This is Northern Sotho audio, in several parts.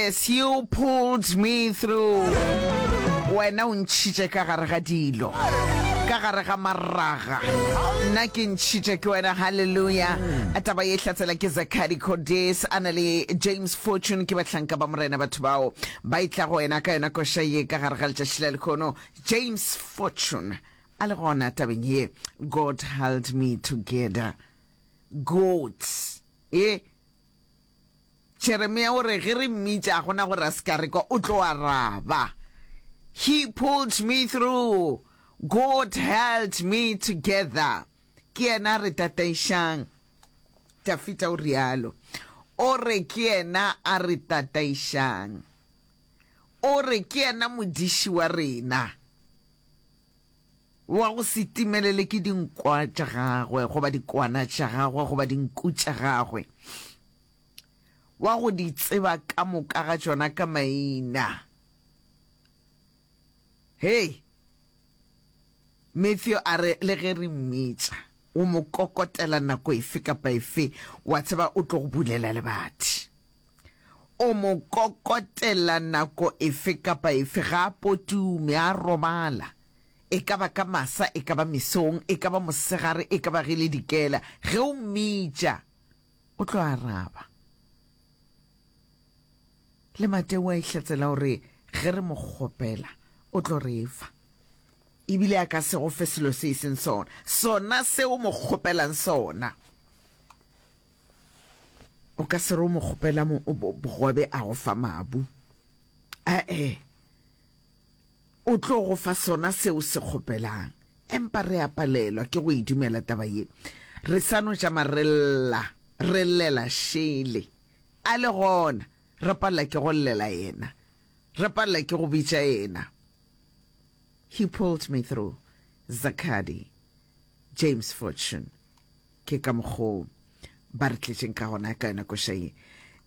Yes, you pulled me through. Wena o ntšhitše ka gare ga dilo, ka gare ga maraga. Nna ke ntšhitše ke wena. Hallelujah. Taba ye hlatsela ke Zachary Cordes a na le James Fortune ke bahlanka ba Morena batho bao ba etla go wena ka yona koša ye ka gare ga letšatši la lehono. James Fortune a le gona tabeng ye God held me together. God. E Jeremia o re ge re mmitša ga gona gore a se ka re kwa, o tlo araba. He pulled me through. God held me together. Ke yena a re tataišang. Dafita o rialo. O re ke yena a re tataišang. O re ke yena modiši wa rena. Wa go se timelele ke dinkwa tša gagwe goba dikwana tša gagwe goba dinku tša gagwe. Wa go di tseba ka moka ga tšona ka maina. Hei! Matthew a re le ge re mmitša, o mo kokotela nako efe kapa efe, wa tseba o tlo go bulela lebati. O mo kokotela nako efe kapa efe, ga a potume, a robala. E ka ba ka masa, e ka ba mesong, e ka ba mosegare, e ka ba ge le dikela, ge o mmitša, o tlo araba. Le Mateo a ihlatsela o re ge re mo kgopela, o tlo re fa. Ebile a ka se go fe selo se e seng sona, sona se o mo kgopelang sona. O ka se re o mo kgopela bogobe a go fa mabu. Ae, o tlo go fa sona se o se kgopelang. Empa re a palelwa ke go e dumela taba ye. Re sa no tšama re lla, re llela šele. A le gona, re palela ke go llela yena. Re palela ke go bitša yena. He pulled me through. Zakadi. James Fortune. Ke ka mokgo ba re tletšeng ka gona ka yona koša ye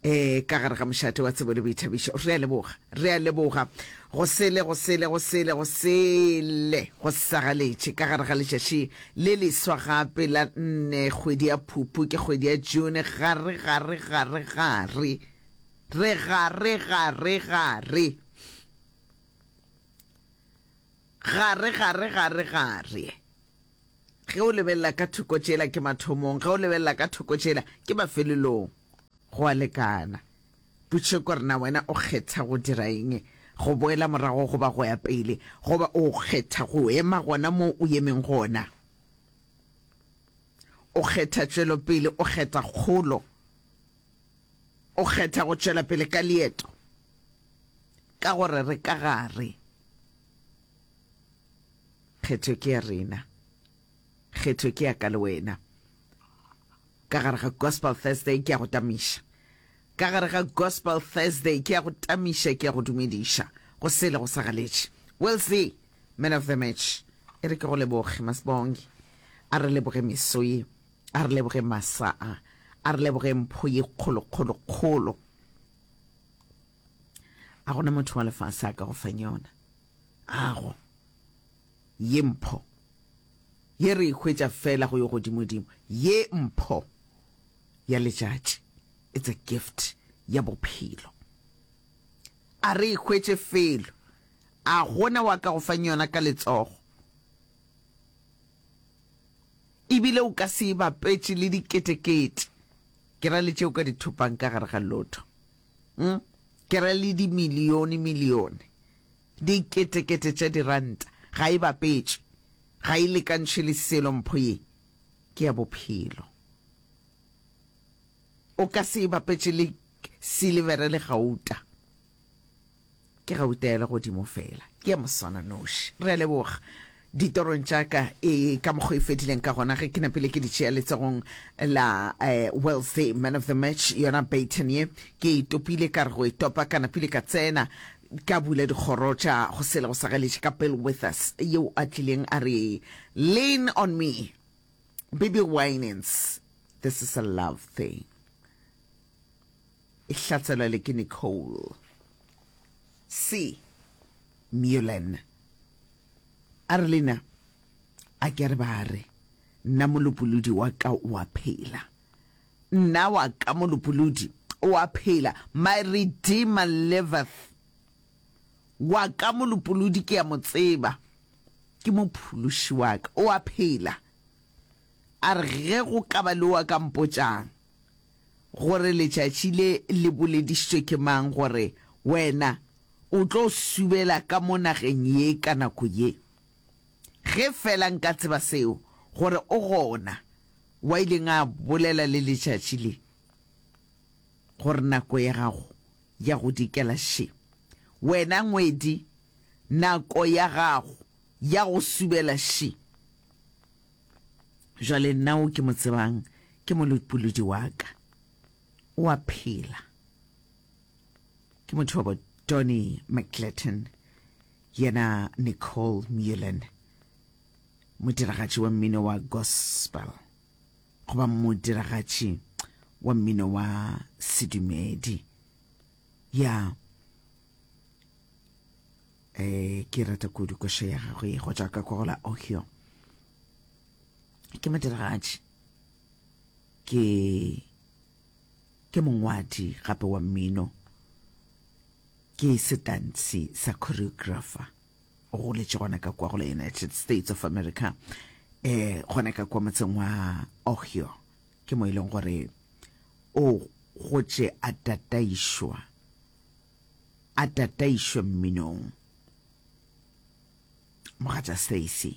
e ka gare ga mošate wa tsebo le boithabišo. Re a leboga, re a leboga. Go sele, go sele, go sele, go sele, go sagaletše ka gare ga letšatši le leswa gape la nne kgwedi ya Phupu, ke kgwedi ya June, gare, gare, gare, gare, re gare, gare, gare, gare, gare, gare, gare. Ge o lebelela ka thoko tšela ke mathomong, ge o lebelela ka thoko tšela ke mafelelong. Go a lekana. Potšišo ke gore na wena o kgetha go dira eng, go boela morago goba go ya pele, goba o kgetha go ema gona moo o emeng gona? O kgetha tšwelopele, o kgetha kgolo, o kgetha go tšwela pele ka leeto, ka gore re ka gare. Kgetho ke ya rena. Kgetho ke ya ka le wena. Ka gare ga Gospel Thursday ke ya go tamiša. Ka gare ga Gospel Thursday ke ya go tamiša, ke ya go dumediša. Go sele go sa galetše. We'll see. Man of the match. E re ke go leboge, Masibonge. A re leboge meso ye. A re leboge masa a. A re leboge mpho ye kgolo, kgolo, kgolo. A gona motho wa lefase a ka go fang yona. Ago, ye mpho ye re e hwetša feela go yo godimodimo, ye mpho ya letšatši, it's a gift ya bophelo. A re e hwetše felo, a gona wa ka go fang yona ka letsogo. Ebile o ka se e bapetše le diketekete, ke ra le tše o ka di thopang ka gare ga lotho. Mm? Ke ra le dimilione milione. Diketekete tša diranta, ga e bapetšwe, ga e lekantšhwe le selo, mpho ye ke ya bophelo. O ka se e bapetše le silivere le gauta. Ke gauta ya legodimo feela, ke ya moswananoši. Re a leboga. Ditorong tša ka, e ka mokgo e fedileng ka gona ge ke napile ke di tšea letsogong la eh, Wellesley man of the match, yona baton ye ke e topile, ka re go e topa ka napile ka tsena ka bula dikgoro tša go sele go sa galetše ka Bill Withers yeo a tlileng a re lean on me Bibi Winans this is a love thing e hlatselwa le ke Nicole C Mullen. A re, Lena, a ke re ba re, Nna Molopolodi wa ka o a phela. Nna wa ka Molopolodi O a phela. My Redeemer liveth. Wa ka Molopolodi ke a mo tseba. Ke Mophološi wa ka. O a phela. A re, Ge go ka ba le o a ka mpotšang gore letšatši le le boledišitšwe ke mang gore wena o tlo subela ka mo nageng ye ka nako ye. Ge feela nka tseba seo, gore o gona wa ileng a bolela le letšatši le, gore nako ya gago ya go dikela še. Wena ngwedi, nako ya gago ya go subela še. Jwale nna o ke mo tsebang ke molopolodi wa ka. O a phela. Ke motho wa bo Donny McGletton, yena Nicole Mullen, modiragatši wa mmino wa gospel goba modiragatši wa mmino wa sedumedi. Ya. Eh, ke rata kudu koša ya gagwe go tšwa ka kwa go la Ohio. Ke modiragatši, ke ke mongwadi gape wa mmino, ke setantshi sa choreographer. O goletše gona ka kwa go la United States of America, eh, gona ka kwa motseng wa Ohio. Ke mo e leng gore o gotše a tataišwa a tataišwe mminong. Mogatša Stacey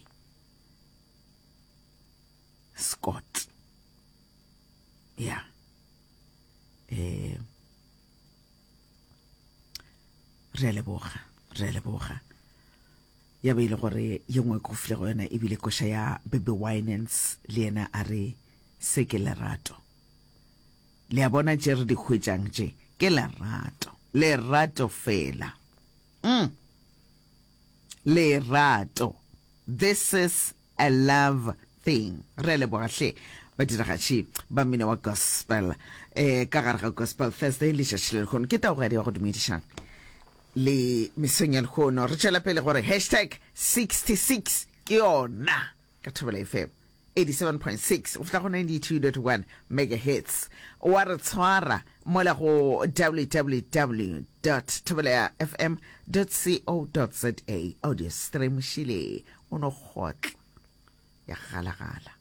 Scott. Ya. Eh re a leboga, re a leboga. Ya be e le gore ye nngwe ko file go yona ebile koša ya Baby Winans le yena a re se ke lerato. Le a bona tše re di hwetšang tše ke lerato, lerato fela. Mm. Lerato. This is a love thing. Re a leboga hle badiragatši ba mmino wa gospel eh ka gare ga Gospel Thursday letšatši le lehono. Ke taogadi wa go dumediša le mesong ya lehono. Re tšwela pele gore hashtag 66 ke yona. Ka Thobela FM 87.6 go fihla go 92.1 megahertz. Wa re tshwara mola go www dot thobelafm dot co dot za. Audio stream šile o no kgotla ya galagala.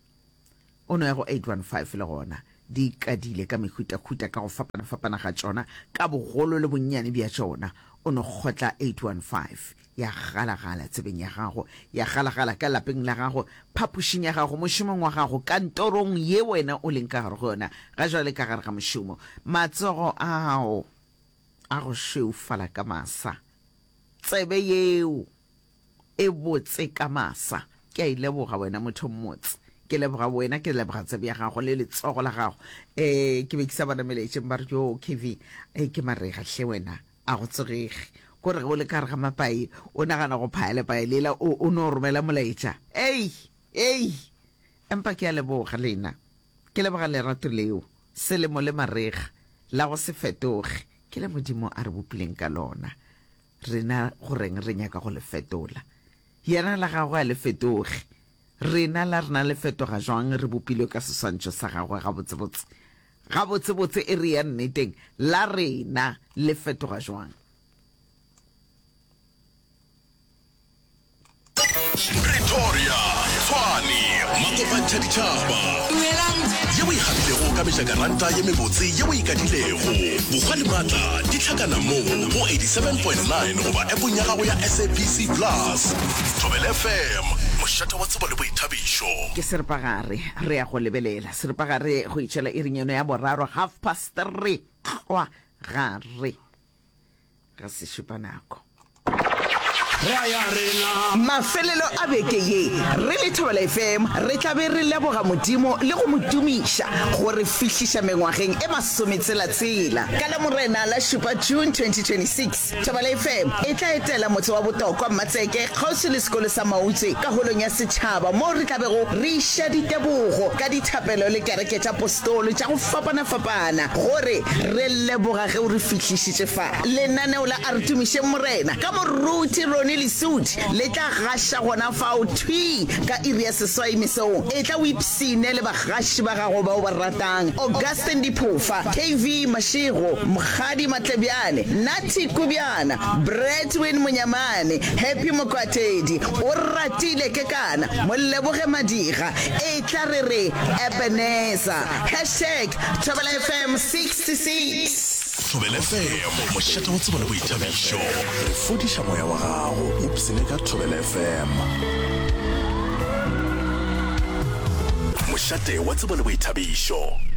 O no ya go 815 le gona di ikadile ka mehutahuta ka go fapana-fapana ga tšona, ka bogolo le bonnyane bja tšona. O no kgotla 815 ya galagala tsebeng ya gago, ya galagala ka lapeng la gago, phapošing ya gago, mošomong wa gago, kantorong ye wena o leng ka gare go yona ga jwale ka gare ga mošomo. Matsogo ao a go šweufala ka masa, tsebe yeo e botse ka masa. Ke a e leboga wena motho mmotse. Ke leboga wena, ke leboga tsebe ya gago le letsogo la gago. Eh, ke be ke sa bona melaetšeng ba re yo KV, eh, ke marega hle wena, a go tsogege. Ko re ge o le ka gare ga mapai, o nagana go phaya lepai lela, o, o no romela molaetša. Ei, ei, empa ke a leboga lena. Ke leboga lerato leo, selemo le marega, la go se fetoge, ke le Modimo a re bopileng ka lona. Rena go reng re nyaka go le fetola? Yena la gagwe a le fetoge. Rena la rena le fetoga jwang re bopilwe ka seswantšho sa gagwe gabotsebotse? Gabotsebotse e re ya nneteng, la rena le fetoga jwang? Pretoria, Tshwane, Makopantšha ditšhaba. Ye o e gapilego ka mejakaranta ye mebotse ye o e kadilego. Bokgwa le maatla di hlakana mo go 87.9 goba appong ya gago ya SABC Plus. Thobela FM, mošate wa tsebo le boithabišo. Ke seripagare, re ya go lebelela seripagare go itšwela iring yeno ya boraro, half past three, tlwa gare. Ga se šupa nako. Mafelelo a beke ye, re le Thobela FM re tla be re leboga Modimo le go mo tumiša go re fihliša mengwageng e masometshela-tshela. Ka Lamorena la šupa June 2026, Thobela FM e tla etela motse wa Botokwa, Mmatseke, kgauswi le sekolo sa Mautse ka holong ya setšhaba moo re tla bego re iša ditebogo ka dithapelo le kereke tša postolo tša go fapana-fapana gore re leboga ge o re fihlišitše fa. Lenaneo la A Re Tumišeng Morena ka Moruti Ronnie. Tony Lesudi le tla gaša gona fao thwii ka iri ya seswai mesong. Etla o ipshine le bagaši ba gago ba o ba ratang, Augustine Diphofa, KV Mashego, Mokgadi Matlebjane, Nathi Kubjana, Bradwin Monyamane, Happy Mokwatedi, Oratile Kekana, Moleboge Madiga. Etla re re Ebenezer. Hashtag Thobela FM 66. Thobela FM, mošate wa tsebo le boithabišo. Re fodiša moya wa gago. Ipshine ka Thobela FM. Mošate wa tsebo le boithabišo.